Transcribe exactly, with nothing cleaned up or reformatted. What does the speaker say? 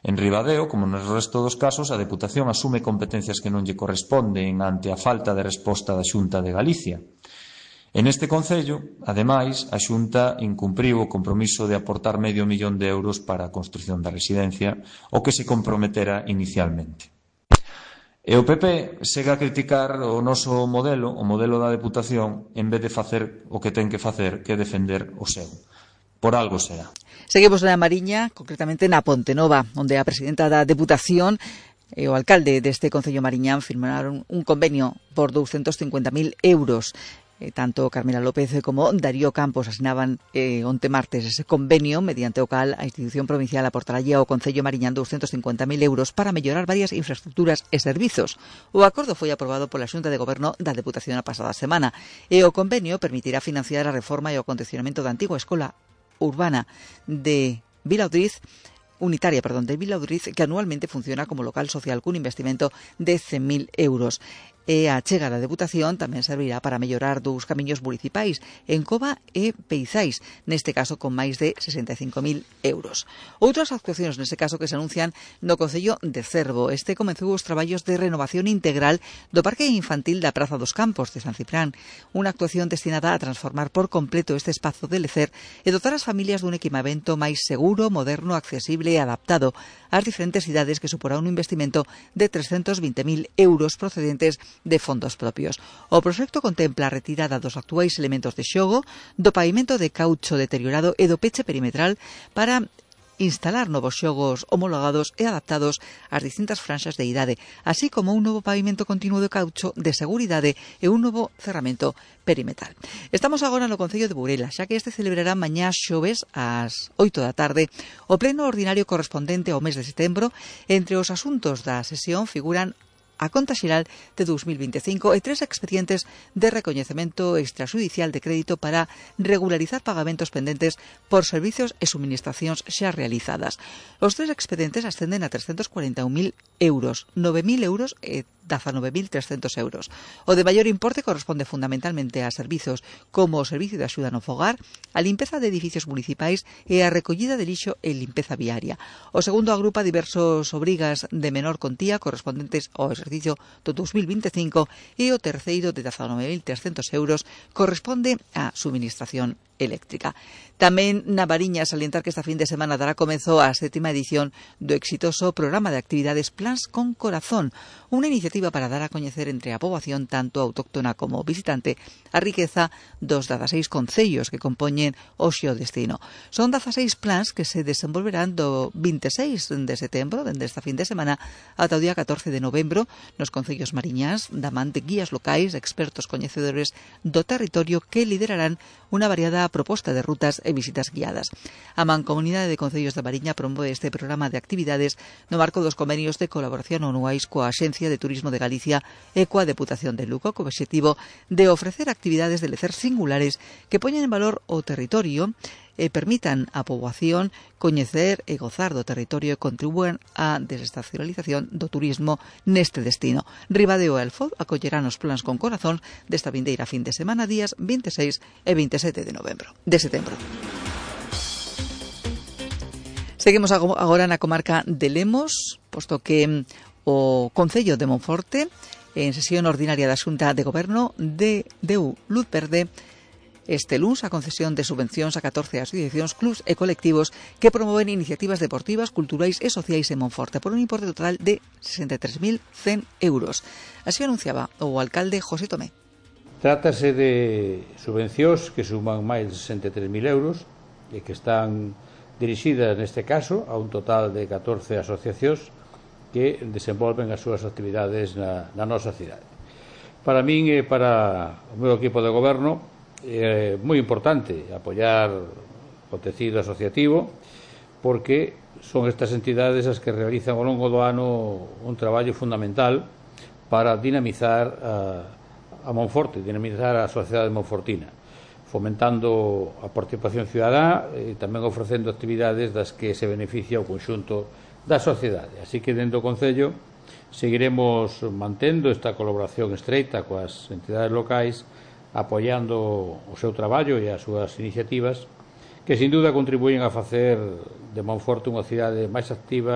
En Ribadeo, como no resto dos casos, a Deputación asume competencias que non lle corresponden ante a falta de resposta da Xunta de Galicia. En este concello, ademais, a Xunta incumpriu o compromiso de aportar medio millón de euros para a construción da residencia, o que se comprometera inicialmente. E o P P segue a criticar o noso modelo, o modelo da Deputación, en vez de facer o que ten que facer, que defender o seu. Por algo será. Seguimos na Mariña, concretamente na Pontenova, onde a presidenta da Deputación e o alcalde deste concello mariñán firmaron un convenio por douscentos cincuenta mil euros. Eh, tanto Carmela López como Darío Campos asinaban eh, onte martes ese convenio mediante o cal a institución provincial aportaralle ao Concello Mariñán douscentos cincuenta mil euros para mellorar varias infraestructuras e servizos. O acordo foi aprobado pola Xunta de Goberno da Deputación a pasada semana e o convenio permitirá financiar a reforma e o acondicionamento da antiga escola urbana de Vilaudriz unitaria, perdón, de Vilaudriz, que anualmente funciona como local social cun investimento de cen mil euros. E a chega da Deputación tamén servirá para mellorar dous camiños municipais en Cova e Peizais, neste caso con máis de sesenta e cinco mil euros. Outras actuacións neste caso que se anuncian no Concello de Cervo. Este comezou os traballos de renovación integral do Parque Infantil da Praza dos Campos de San Ciprán, unha actuación destinada a transformar por completo este espazo de lecer e dotar as familias dun equipamento máis seguro, moderno, accesible e adaptado ás diferentes idades, que suporá un investimento de trescentos vinte mil euros procedentes de fondos propios. O proxecto contempla a retirada dos actuais elementos de xogo, do pavimento de caucho deteriorado e do peche perimetral para instalar novos xogos homologados e adaptados ás distintas franxas de idade, así como un novo pavimento continuo de caucho de seguridade e un novo cerramento perimetral. Estamos agora no Concello de Burela, xa que este celebrará mañá xoves ás oito da tarde o pleno ordinario correspondente ao mes de setembro. Entre os asuntos da sesión figuran a conta xeral de dous mil vinte e cinco e tres expedientes de recoñecemento extrajudicial de crédito para regularizar pagamentos pendentes por servicios e suministracións xa realizadas. Os tres expedientes ascenden a trescentos cuarenta e un mil euros, nove mil euros e dezanove mil trescentos euros. O de maior importe corresponde fundamentalmente a servizos como o servicio de axuda no fogar, a limpeza de edificios municipais e a recollida de lixo e limpeza viaria. O segundo agrupa diversos obrigas de menor contía correspondentes ao exercicio do dous mil vinte e cinco e o terceiro de dezanove mil trescentos euros corresponde á suministración eléctrica. Tamén na Mariña salientar que esta fin de semana dará comezo a sétima edición do exitoso programa de actividades Plans con Corazón, unha iniciativa para dar a coñecer entre a poboación tanto autóctona como visitante a riqueza dos dezaseis concellos que compoñen o xeodestino. Son dezaseis plans que se desenvolverán do vinte e seis de setembro, dende esta fin de semana, ata o día catorce de novembro, nos concellos mariñás, da man de guías locais, expertos coñecedores do territorio que liderarán unha variada proposta de rutas e visitas guiadas. A Mancomunidade de Concellos da Mariña promove este programa de actividades no marco dos convenios de colaboración anuais coa Axencia de Turismo de Galicia e coa Deputación de Lugo, co obxectivo de ofrecer actividades de lecer singulares que poñen en valor o territorio e permitan á poboación coñecer e gozar do territorio e contribúen á desestacionalización do turismo neste destino. Ribadeo e Alfoz acollerán os plans con corazón desta vindeira fin de semana días vinte e seis e vinte e sete de novembro, de setembro. Seguimos agora na comarca de Lemos, posto que o Concello de Monforte, en sesión ordinaria da Xunta de Goberno, de deu luz verde este luns a concesión de subvencións a catorce asociacións, clubs e colectivos que promoven iniciativas deportivas, culturais e sociais en Monforte por un importe total de sesenta e tres mil cen euros. Así anunciaba o alcalde José Tomé. Trátase de subvencións que suman máis de sesenta e tres mil euros e que están dirixidas neste caso a un total de catorce asociacións que desenvolven as súas actividades na, na nosa cidade. Para min e para o meu equipo de goberno é moi importante apoiar o tecido asociativo porque son estas entidades as que realizan ao longo do ano un traballo fundamental para dinamizar a, a Monforte, dinamizar a sociedade monfortina, fomentando a participación cidadá e tamén ofrecendo actividades das que se beneficia o conxunto da sociedade. Así que dentro do Concello seguiremos mantendo esta colaboración estreita coas entidades locais, apoiando o seu traballo e as súas iniciativas que sin duda contribuyen a facer de Monforte unha cidade máis activa